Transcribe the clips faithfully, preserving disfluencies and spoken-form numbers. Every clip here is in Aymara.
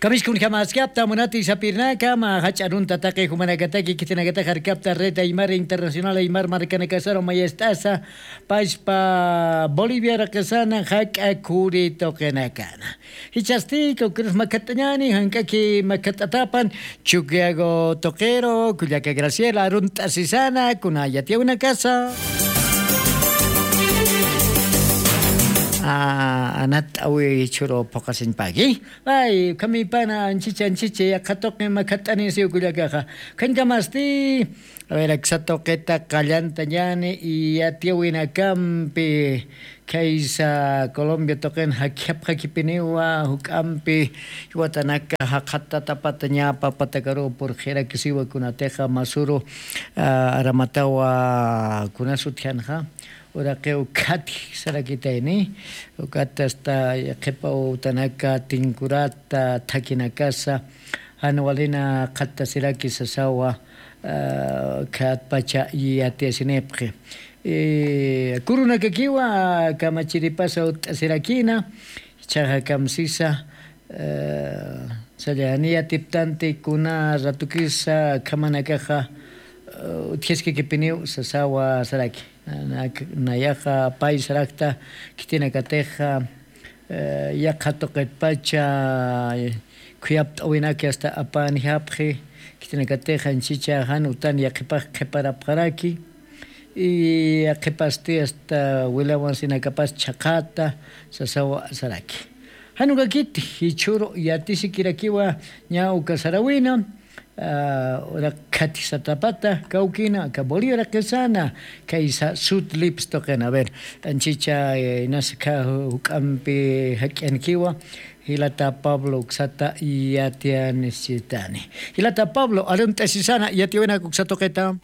Kamiskunjamaskapta munati sapirnaka ma jach'a arunta taqi jumanakataki khitinakatax arkapta red aymar internacional aymar markanakasaru mayest'asa paspa bolivia raqisana jak'a khuri tuqinakana. Jichhasti kawkirus makhat'añani jank'aki makhat'atapan. Chukiago tuqiru kullaka graciela arunt'asisana kuna yatiyawinakasa. Anat'awi chhuru phuqasiñpaki. Ay ukhamipana anchicha anchicha yaqha tuqi makhat'anisiw kullakaxa. Ukhañkamasti a ver aksa tuqita qallantañani. Yatiyawinakampi khaysa colombia tuqin jakjapxakipiniwa juk'ampi jiwatanaka jaqhatatapatañapa patakaruw purxirakisiwa kunatixa masuru aramatawa kunas utjanxa. Uraqiw khatji sarakitayni. Ukata asta qhipa wawtanaka tinkurata thakinakasa jan walina qhattasiraki sasawa. Khatpacha yatiyasinipxi kurunakakiwa kamachiripasa utt'asirakina. Jichhaxa kamsisa sallani yatiptanti kuna ratukisa khamanakaxa utjaskakipiniw sasawa saraki. Nayaxa pay sarakta khitinakatixa yaqha tuqitpacha khuyapt'awinaki asta apanjapxi. Khitinakatixa anchicha jan utan yaqhipax qhiparapxaraki. Yaqhipasti asta wilawansinakapas chhaqhata sasawa saraki. Jan ukakiti jichhuru yatisikirakiwa ña uka sarawina. Ura khathisatapata kawkina aka bolivia raqisana khaysa sud lips tuqina a ver anchicha inasa kha juk'ampi jak'yankiwa. Jilata pablo uksata yatiyanisitani. Jilata pablo arunt'asisana yatiyawinaka uksa tuqita.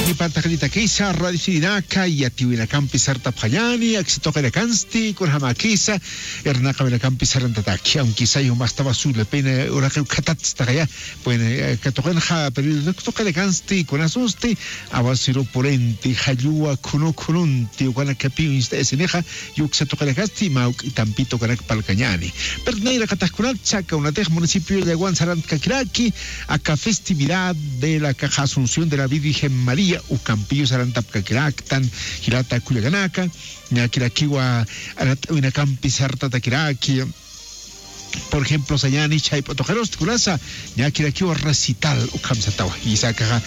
Nipantaxnitakisa radiosinaka yatiwinakampi sartapxañani aksituqinakansti kunjamakisa. Irnaqawinakampi sarantataki aunque sayumastawa sullapina uraqiw khatatstaxaya. Bueno katuqinxa periodituqinakansti kunasunsti awasiru purinti jalluwa khunu khununti ukanakapiw inst'ayasinixa. Yuksa tuqinakasti mawk'itampita ukanak palkañani. Pero nayraqataxkunat chaka unatix municipio llawan sarantkakiraki aka festividad de la caja asunción de la virgen maría ukampiyu sarantapkakiraktan. Jilata kullakanaka ñakirakiwa arat'awinakampi sartatakiraki. Por ejemplo sañani chayp'u tuqirusti kunasa ñakirakiwa recital ukham satawa jisa akaxa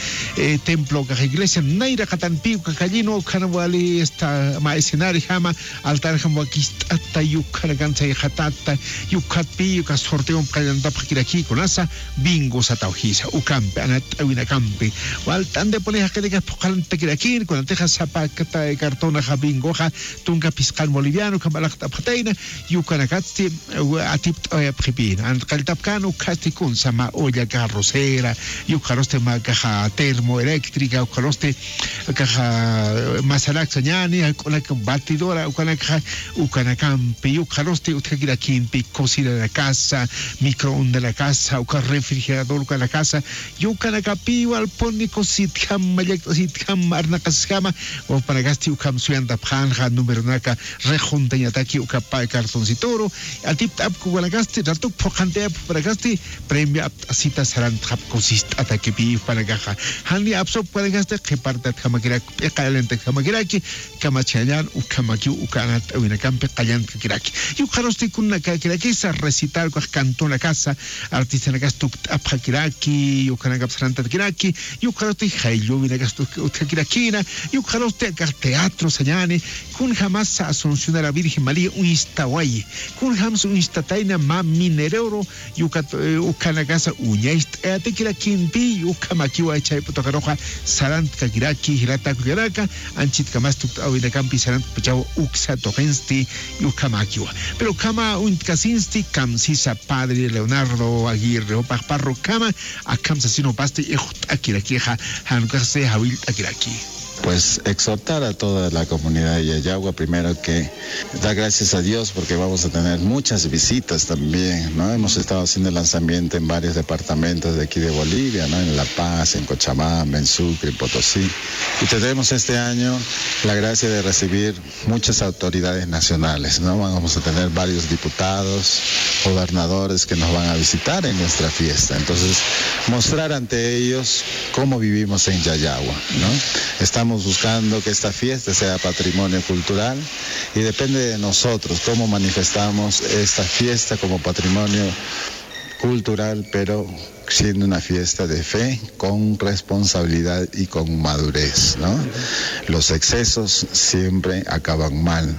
templo akaxa iglesia nayraqatanpi uka kallinu ukhan wali esta mä escenarijama altarjam wakist'ata yukhanakan sayxatata. Yukhatpi uka sorteompi qallantapxakiraki kunasa bingo satawa jisa ukampi anat'awinakampi walt'antipuni jaqinakax phuqharantatakirakin kunatixa sapa cartonaxa bingoxa tunka phisqan boliviano ukham alaxt'apxatayna. Yukanakatsti atipt'awayapxipïna antqalltapkän ukhasti kunsa mä olla kaxa rosera yukxarusti mä kaxa termo eléctrica ukxarusti kaxa masarak sañäni jak'unak batidora ukanakxa ukanakampi yukxarusti utjakirakimpi cocinanakasa microondanakasa uka refrigerador ukanakasa yukanakapiw alpuni cositjama llakt'asitjama arnaqasjama. Wawpanakasti ukham suyantapxänxa numeronaka rejuntañataki uka pä cartoncituru atipt'apku ukanakasti ratuk phuqhantayapxpanakasti premio apt'asita sarantxapku sist'atakipi upanakaxa jani apsupkanakasti qhipartatjamakirak p'iqayalintatjamakiraki. Kamachjañan ukhamakiw uka anat'awinakampi qallantkakiraki yukxarusti kunanakakirakisa recital ukax cantonakasa artistanakasti tukt'apxakiraki yukhanakap sarantatakiraki. Yukxarusti jaylluwinakas utjakirakina yukxarusti akax teatro sañäni. Kunjamasa asunción a la virgen maría uñstawayi kunjamsa uñstatayna mä minereoru yukat ukhanakasa uñacht'ayatakirakimpi ukhamakiwa chayp'u tuqiruxa sarantkakiraki jilata kullakanaka. Anchitkamas tukt'awinakampi sarantkpachaw uksa tuqinsti ukhamakiwa. Pero ukhama uñtkasinsti kamsisa padre leonardo aguirre jupax parroquiama akham sasin jupasti ixt'akirakixa jan ukaxsi jawillt'akiraki. pues exhortar a toda la comunidad de Yayagua, primero que dar gracias a Dios porque vamos a tener muchas visitas también, ¿no? Hemos estado haciendo el lanzamiento en varios departamentos de aquí de Bolivia, ¿no? En La Paz, en Cochabamba, en Sucre, en Potosí. Y tenemos este año la gracia de recibir muchas autoridades nacionales, ¿no? Vamos a tener varios diputados, gobernadores que nos van a visitar en nuestra fiesta. Entonces, mostrar ante ellos cómo vivimos en Yayagua, ¿no? Estamos buscando que esta fiesta sea patrimonio cultural y depende de nosotros cómo manifestamos esta fiesta como patrimonio cultural, pero siendo una fiesta de fe, con responsabilidad y con madurez, ¿no? Los excesos siempre acaban mal.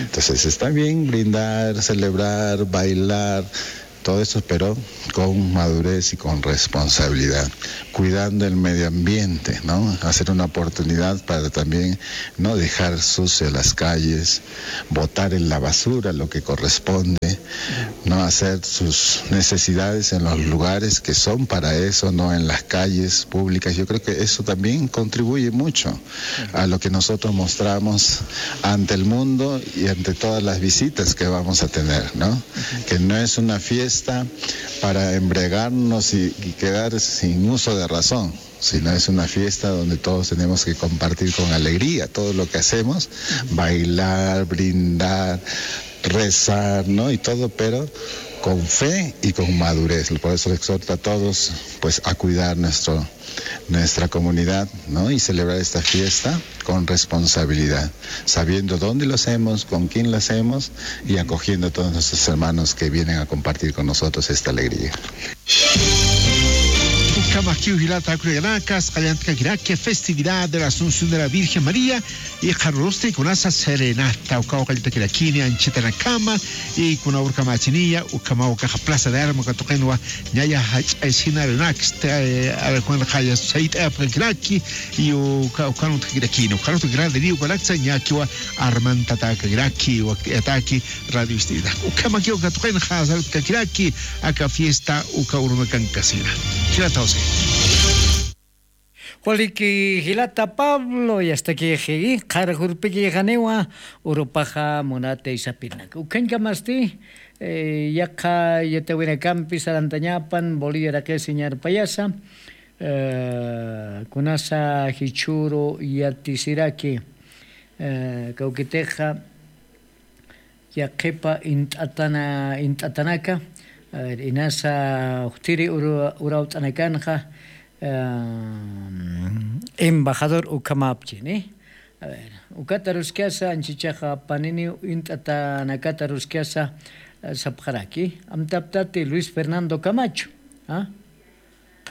Entonces está bien brindar, celebrar, bailar, todo eso, pero con madurez y con responsabilidad, cuidando el medio ambiente, ¿no? Hacer una oportunidad para también no dejar sucio las calles, botar en la basura lo que corresponde, no hacer sus necesidades en los lugares que son para eso, no en las calles públicas. Yo creo que eso también contribuye mucho a lo que nosotros mostramos ante el mundo y ante todas las visitas que vamos a tener, ¿no? Que no es una fiesta para embriagarnos y, y quedar sin uso de razón, sino es una fiesta donde todos tenemos que compartir con alegría todo lo que hacemos, bailar, brindar, rezar, ¿no? Y todo, pero con fe y con madurez. Por eso exhorto a todos, pues, a cuidar nuestro, nuestra comunidad, ¿no? Y celebrar esta fiesta con responsabilidad, sabiendo dónde lo hacemos, con quién lo hacemos y acogiendo a todos nuestros hermanos que vienen a compartir con nosotros esta alegría. Ukhamakiw jilata juk'añakas, qallantkakirakki festividad de la Asunción de la Virgen María, y qharürusti kunasa serenata, ukaw qalltakirakini anchitanakama, y kuna urkamachiniya, ukhamaw ukaxa Plaza de Armas katuqinwa, ñaya jach'aysina rinaksta, eh, arkuwan qaya sayt'apkakiraki, y uka, ukan utkakirakini, ukan utkakirakini, ukanaksa ñakiwa armantatakakiraki, wakt'ataki, radio ist'ita. Ukhamakiw katuqinxa salutkakiraki, aka fiesta, uka urunakankasina. Jilata José. Waliki jilata Pablo, yastakixi, qhar jurpikixaniwa, urupaxa munata isapirinaka. Ukhañkamasti, eh, yaqha yatawinakampi sarantañapan, Bolivia raqisi ñarpayasa, eh, kunasa jichhüru yatisiraki, eh, kawkitixa, yaqhipa int'atana-, int'atanaka, a ver, inasa jutiri uru-, urawt'anakanxa, em, embajador ukhamapchi, ¿ni? A ver, ukat aruskasa, anchichaxa paniniw int'atanakata aruskasa, eh, sapxaraki, amtaptati Luis Fernando Camacho, ¿ah?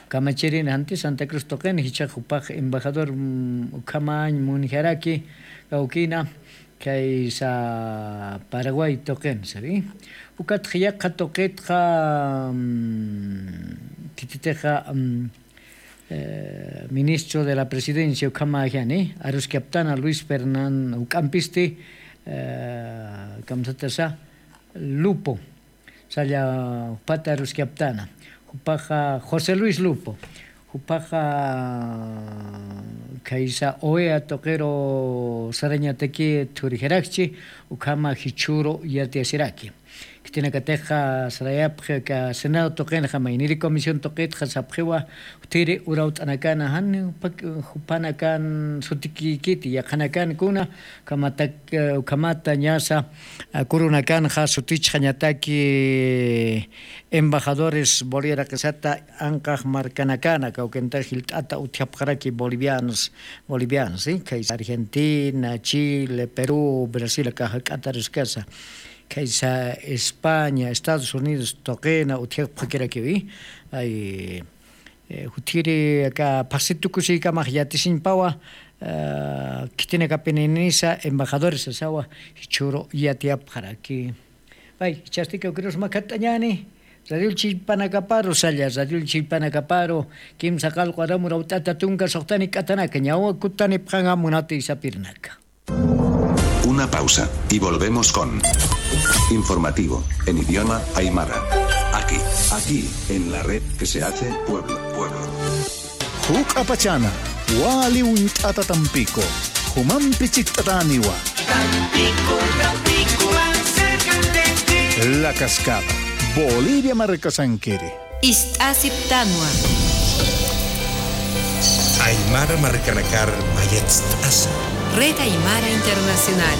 Kamachirin janti Santa Cruz tuqin, jichhax jupax embajador, mm, ukhamañ munjaraki, kawkina, khaysa Paraguay tuqin, ¿sabe? Ukatxa yaqha tuqitxa, mm, khititixa, mm, eh, ministro de la presidencia ukhamäjani, aruskaptana Luis Fernán, juk'ampisti, eh, kamsatasa, Lupo. Salla jupata aruskaptana. Jupaxa José Luis Lupo. Jupaxa khaysa OEA tuqiru sarañataki thurijarakchi, ukhama jichhüru yatiyasiraki. Khitinakatixa sarayapxi aka Senado tuqinxa, mayniri comisión tuqitxa sapxiwa, jutiri urawt'anakana jan jupak-, jupanakan sutikikiti, yaqhanakan kuna, ukhamatak-, ukhamata ñasa, a, kurunakanxa sutichxañataki embajadores Bolivia raqisata anqax markanakana, kawkinta jilt'ata utjapxaraki bolivianos, bolivianos, ¿sí? Khaysa Argentina, Chile, Perú, Brasil, aka jak'ata aruskasa. Khaysa España, Estados Unidos tuqina utjapxakirakiwi. Ay, eh, jutiri aka phaxsi tukusiykamax yatisiñpawa, eh, khitinakapinisa embajadores sasawa, jichhüru yatiyapxaraki. Pay, jichhasti kawkirus makhatt'añäni, radio chillpanakaparu salla, radio chillpanakaparu, kimsa qallqu aram urawt'ata tunka suxtanik'atanaka, ñawa kutanipxaña munati isapirinaka. Una pausa y volvemos con informativo en idioma aymara. Aquí, aquí, en la red que se hace pueblo, pueblo. Juk'a pachana, Wali uñt'ata Tampico, jumampi chikt'atäniwa. Tampico, Tampico, más cerca de ti. La Cascada, Bolivia markasankiri. Ist'asiptanwa. Aymara markanakar mayatst'asa. Red Aymara Internacional.